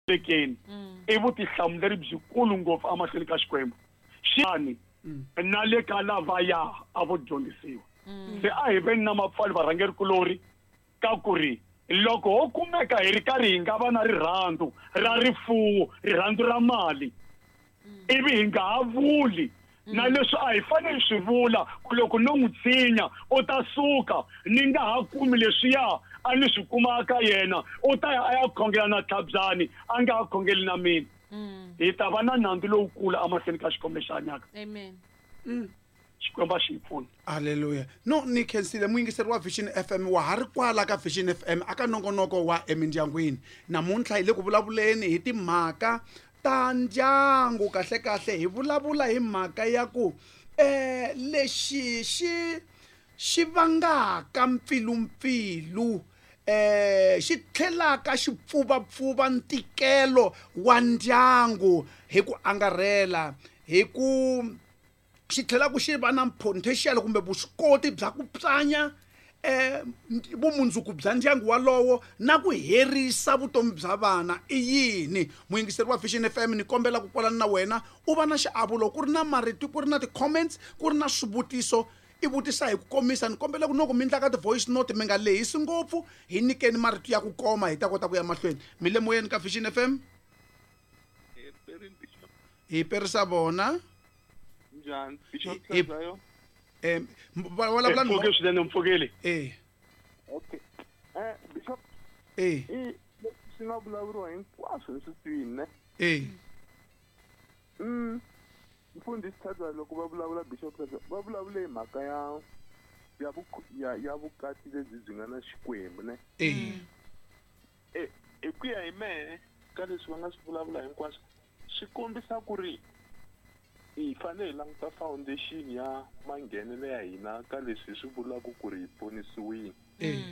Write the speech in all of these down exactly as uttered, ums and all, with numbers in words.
Tekeni i vutihlamuleri byikulu ngopfu emahlweni ka Xikwembu xani na le ka lavaya a vo dyondzisiwa. Se a hi veni na mapfalo varhangeri kulori ka ku ri loko ho kumeka hi ri karhi hi nga va na rirhandzu ra rifuwo, rirhandzu ra mali, ivi hi nga ha vuli na leswi a hi fanele swi vula ku loko no n'wi tshinya u ta suka ni nga ha kumi leswiya a ni swi kuma ka yena, u ta ya a ya khongela na Tlhabyani a nga ha khongeli na mina, hi ta va na nandzu lowukulu emahlweni ka Xikwembu lexi hanyaka. Amen. Xikwembu a xi hi pfuni. Halleluya. No ni khensile muyingiseri wa Vision F M, wa ha ri kwala ka Vision F M aka nongonoko wa emindyangwini. Namuntlha hi le ku vulavuleni hi timhaka ta ndyangu. Kahle kahle hi vulavula hi mhaka ya ku eh lexi xi xi vangaka mpfilumpfilu, eh xi tlhelaka xi pfuvapfuva ntikelo wa ndyangu hi ku angarhela, hi ku xi tlhela ku xi va na potential kumbe vuswikoti bya ku pyanya eh vumundzuku bya ndyangu walowo na ku herisa vutomi bya vana. I yini? Muyingiseri wa Vision F M, ni kombela ku kwalana na wena u va na xiavo loko ku ri na marito, ku ri na ti-comments, ku ri na swivutiso, i vutisa hi ku komisa. Ni kombela ku loko mi endla ka ti-voice note mi nga lehisi ngopfu, hi nyikeni marito ya ku koma hi ta kota ku ya mahlweni. Mi le moyeni ka Vision F M? Hi perisa vona. Njhani? Bishop Hi- Hlazayo? Eh, m-, va vulavula ni Mpfukeli mo- swinene, mpfukeli. Eh. Okay. Eh, Bishop. Eh. I swi nga vulavuriwa hinkwaswo leswi twini, ne? Eh. Mm. Mfundhisi Hlazayo loko va vulavula Bishop Hlazayo, va vulavule hi mhaka ya, ya vuk-, ya, ya vukati lebyi byi nga na Xikwembu, ne? Eh. Eh, hi ku ya hi mehe ka leswi va nga swi vulavula hinkwaswo, swi kombisa ku ri hi fanele hi languta foundation ya manghenelo ya hina ka leswi hi swi vulaka ku ri hi ponisiwile. Eh.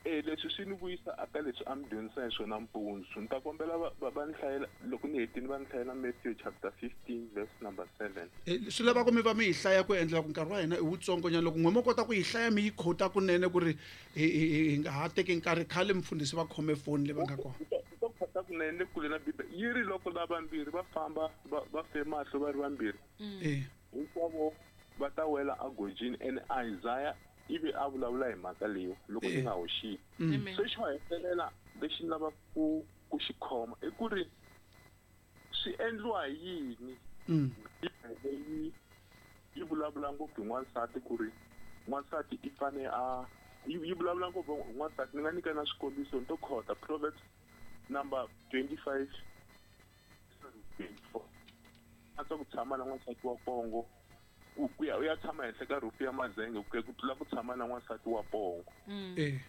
Eh, leswi swi ni vuyisa aka leswi a mi dyondzisa hi swona mpundzu. Ni ta kombela va, va, va ni hlayela, loko ni hetile va ni hlayela Matthew chapter fifteen verse number seven. Eh, swi lava ku mi va mi yi hlaya ku endlela ku nkarhi wa hina i wutsongo nyana. Loko n'we mo kota ku yi hlaya mi yi khota kunene ku ri hi, hi, hi, hi nga ha teki nkarhi, khale mfundhisi va khome foni leyi va nga kona. Ni ta, ni ta khota kunene le kule na Bibele. Yi ri loko lavambirhi va famba, va, va fe mahlo va ri vambirhi. Mm. Eh. Hinkwavo va ta wela agojini. And Isaiah ivi a vulavula hi mhaka leyi loko ni Eh. nga hoxile. Mm. Amen. Se xo hetelela lexi ni lavaka ku, ku xi khoma i ku ri swi endliwa hi yini? Mm. Bibele yi, yi vulavula ngopfu hi n'wansati ku ri n'wansati i fane a, yi, yi vulavula ngopfu hi n'wansati. Ni nga nyika na swikombiso ni to khota Proverbs number twenty-five, twenty-four. A tswa ku tshama na n'wansati wa pongo, ku, ku ya, u ya tshama henhla ka roof ya mazenge ku ya ku tlula ku tshama na n'wansati wa pongo. Mm. Eh.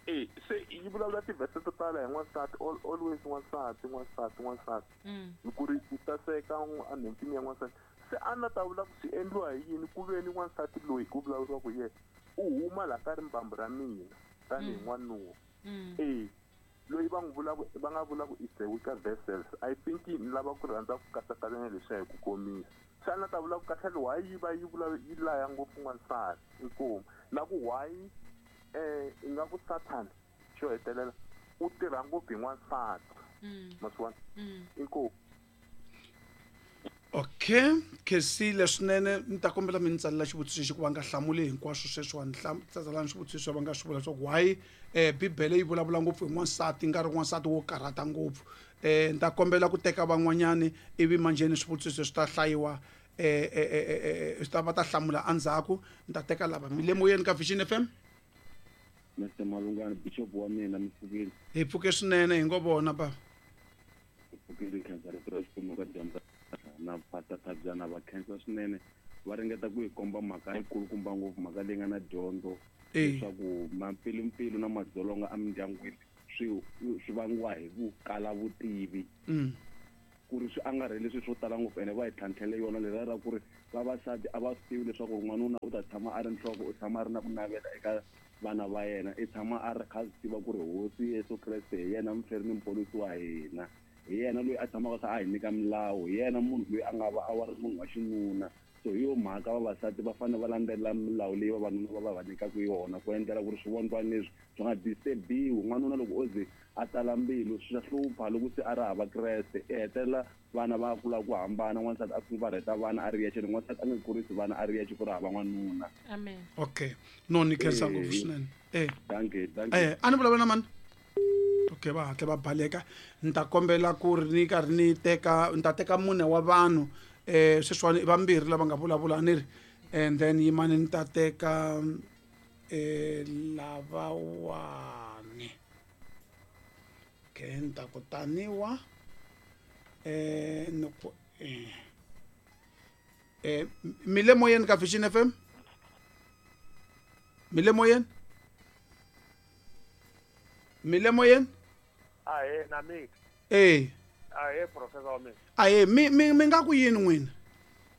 Eh, se yi vulavula tivhese to tala hi n'wansati, al-, always n'wansati, n'wansati, n'wansati. Mm. Hi ku ri ku saseka n'w-, enhompfini ya n'wansati. Se a na ta vula ku swi endliwa hi yini ku ve ni n'wansati loyi ku vulavuriwaka hi yena, u huma laha ka rimbambu ra mina tanihi Mm. n'wanuna. Mm. Eh, loyi va n'wi vulaka, va nga vulaka is the weaker vessels. I think ni lava ku rhandza ku katsakanya leswiya hi ku komisa. Se a na ta vula ku kahle why yi va yi vula yi laya ngopfu n'wansati, inkomu. Na ku why, eh, ingaku Satan xo hetelela u tirha ngopfu hi n'wansati. Mm. Ma swi vona? Mm. Inkomu. Okay, khensile swinene. Ni ta kombela mi ni tsalela xivutiso lexi ku va nga hlamuli hinkwaswo sweswiwani. Hlam-, tsalani swivutiso va nga swi vula leswaku why, eh, Bibele yi vulavula ngopfu hi n'wansati, nga ri n'wansati wo karhata ngopfu. Eh, ni ta kombela ku teka van'wanyani ivi manjheni swivutiso swi ta hlayiwa, eh, eh, eh, eh, eh, swi ta va ta hlamula endzhaku. Ni ta teka lava. Mi le moyeni ka Vision F M? Mister Malungana, Bishop wa mina, mi pfukile? Hi pfuke swinene, hi ngo vona bava. Hi pfukile, khensa rito ra Xikwembu ka dyambu na Pastor Thabyana va khensa swinene. Va ringeta ku hi komba mhaka yikulukumba ngopfu, mhaka leyi nga na dyondzo, Eh. leswaku mampfilumpfilu na madzolonga emindyangwini swi, swi vangiwa hi ku kala vutivi. Mm. Ku ri swi angarhele swilo swo tala ngopfu, ene va hi tlhantlhele yona leriya ra ku ri vavasati a va swi tivi leswaku n'wanuna u ta tshama a ri nhloko, u tshama a ri na ku navela eka vana va yena, i tshama a ri kha a swi tiva ku ri Hosi Yesu Kreste hi yena muferi ni muponisi wa hina, hi yena loyi a tshamaka a kha a hi nyika milawu, hi yena munhu loyi a nga va a wa ri munhu wa xinuna. So hi yo mhaka vavasati va fanele va landzelela milawu leyi vavanuna va va va nyikaka yona, ku endlela ku ri swivondwana leswi swi nga disturbiwi. N'wanuna loko o ze a tala mbilu swi hlupha loko se a ri hava Kreste i hetelela vana va kula ku hambana n'wansati a fumbarheta vana a ri yexe n'wansati a nge kurisi vana a ri yexe ku ri hava n'wanuna. Amen. Okay. No ni khensa ngopfu swinene. Eh. Dankie, dankie. Eh, a ni vulavula na mani? Okay, va hatla va baleka. Ni ta kombela ku ri ni karhi ni teka ni ta teka mune wa vanhu eh sweswiwani i vambirhi lava nga vulavula ni ri and then yimani ni ta teka eh lavawani. Okay, ni ta ku taniwa eh ni ku eh eh mi le moyeni ka Vision F M? Mi le moyeni? Mi le moyeni? Ahe na mi. Eh. Ahe professor wa mina. Ahe mi mi mi nga ku yini n'wina?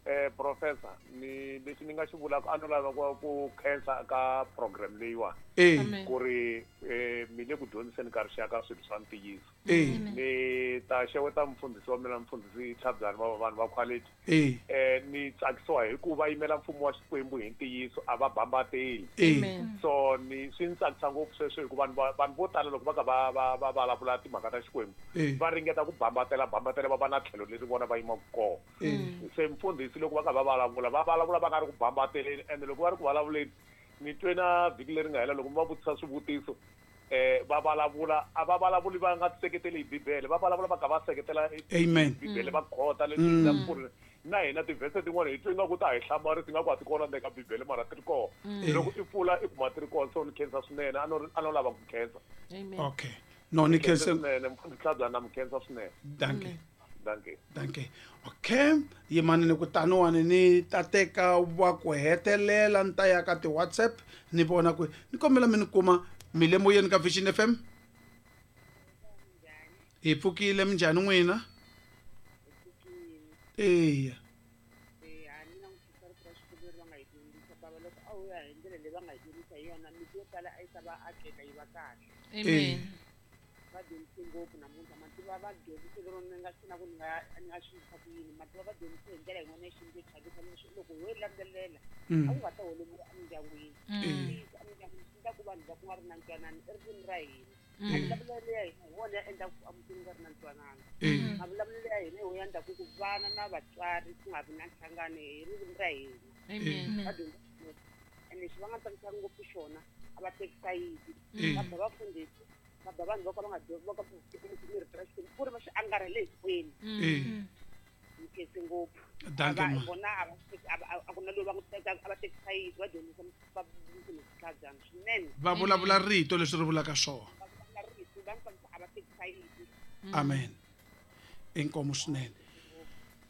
Eh professor ni lexi ni nga xi vulaka a no lava ku ku khensa ka program leyiwa. Eh. Ku ri eh mi le ku dyondziseni ka rixaka swilo swa ntiyiso. Eh. Ni ta xeweta mfundhisi wa mina mfundhisi Tlhabyani va vanhu va quality. Eh. Eh ni tsakisiwa hi ku va yimela mfumo wa Xikwembu hi ntiyiso a va bambateli. Amen. So ni swi ni tsakisa ngopfu sweswo hikuva vanhu vanhu vo tala loko va ka va va va vulavula timhaka ta Xikwembu va ringeta ku bambatela bambatela va va na tlhelo leri vona va yimaka kona. Se mfundhisi loko va ka va vulavula va vulavula va nga ri ku bambateleni ende loko va ri ku vulavuleni ni twe na vhiki leri nga hela loko mi va vutisa swivutiso eh va vulavula a va vulavuli va nga seketeli hi Bibele va vulavula va ka va seketela Amen. Bibele va khota leswi nga ku ri na hina tivhese tin'wana hi twe nga ku ta hi hlamarisa nga ku a ti kona ndzeni ka Bibele mara ti ri kona. Loko i pfula i kuma ti ri kona so ni khensa swinene a no a no lava ku khensa. Amen. Okay. No ni khensa swinene mfundhisi Tlhabyani na mi khensa swinene. Dankie. Dankie. Dankie. Okay, yimani ni ku taniwani ni ta teka wa ku hetelela ni ta ya ka ti-WhatsApp ni vona ku ni kombela mi ni kuma mi le moyeni ka Vision F M. Hi pfukile minjhani n'wina? Eya. Amen. Va dyondzise ngopfu namuntlha mativa va dyondzise lero ni nga swi na ku ni nga ni nga swi yisa ku yini mativa va dyondzise hi ndlela yin'wana ya xintu yo chavisa leswi loko ho yi landzelela a ku nga ta holoviwa emindyangwini. Emindyangwini swi endla ku vanhu va ku nga ri na ntwanano i ririmi ra hina. Mavulavulelo ya hina hi wona ya endlaku ku emutini ku nga ri na ntwanano. Mavulavulelo ya hina hi wona ya endlaku ku vana na vatswari ku nga vi na nhlangano hi ririmi ra hina. Va dyondzise ngopfu ene lexi va nga tsakisaka ngopfu xona a va teki sayiti va ba vafundhisi va ba vanhu vo ka va nga dyondzi va ka va rito ra Xikwembu ku ri va swi angarhele hinkwenu. Ni khense ngopfu. Dankie. Vona a va a ku na loyi va n'wi tekaka a va teki sayiti va dyondzisa va Tlhabyani swinene. Va vulavula rito leswi ri vulaka swona. Va vulavula rito va ni a va teki sayiti. Amen. Inkomu swinene.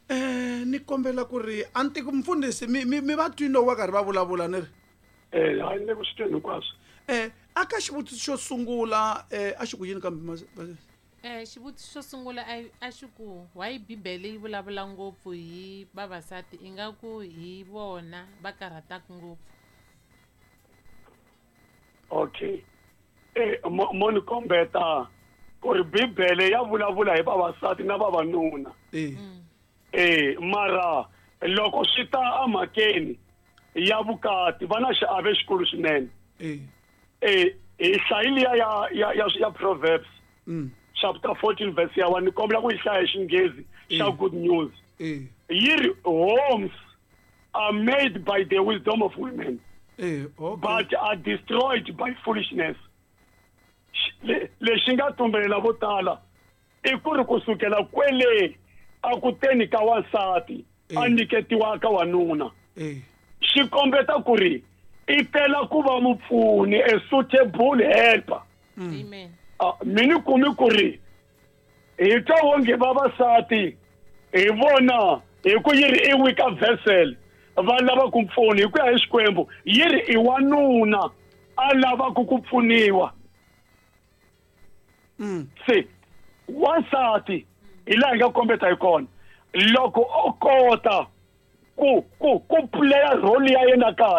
Eh ni kombela ku ri a ni tiki mfundhisi mi mi va twini loko va karhi va vulavula ni ri. Eh hayi ni le ku swi tweni hinkwaswo. Eh aka xivutiso xo sungula eh a xi ku yini kambe eh xivutiso xo sungula a xi ku why Bibele yi vulavula ngopfu hi vavasati ingaku hi vona va karhataka ngopfu. Okay. Eh mo ni kombeta ku ri Bibele ya vulavula hi vavasati na vavanuna. Eh. Eh mara loko swi ta emhakeni ya vukati va na xiave xikulu swinene. Eh. Eh hi hlayile ya ya ya ya Proverbs. Mm. Chapter fourteen verse ya one ni kombela ku yi hlaya hi Xinghezi xa Good News. Eh. Yi ri homes are made by the wisdom of women. Eh, okay. But are destroyed by foolishness. Lexi nga tumbelela vo tala i ku ri kusukela kwele a ku teni ka wansati a nyiketiwa ka wanuna. Eh. Xi kombeta ku ri i tela ku va mupfuni a suitable helper. Amen. Mi ni kumi ku ri hi twa wonge vavasati hi vona hi ku yi ri i weaker vessel va lava ku pfuna hi ku ya hi Xikwembu yi ri i wanuna a lavaka ku pfuniwa. Se wansati hi laha hi nga kombeta hi kona loko o kota ku ku ku playa role ya yena kahle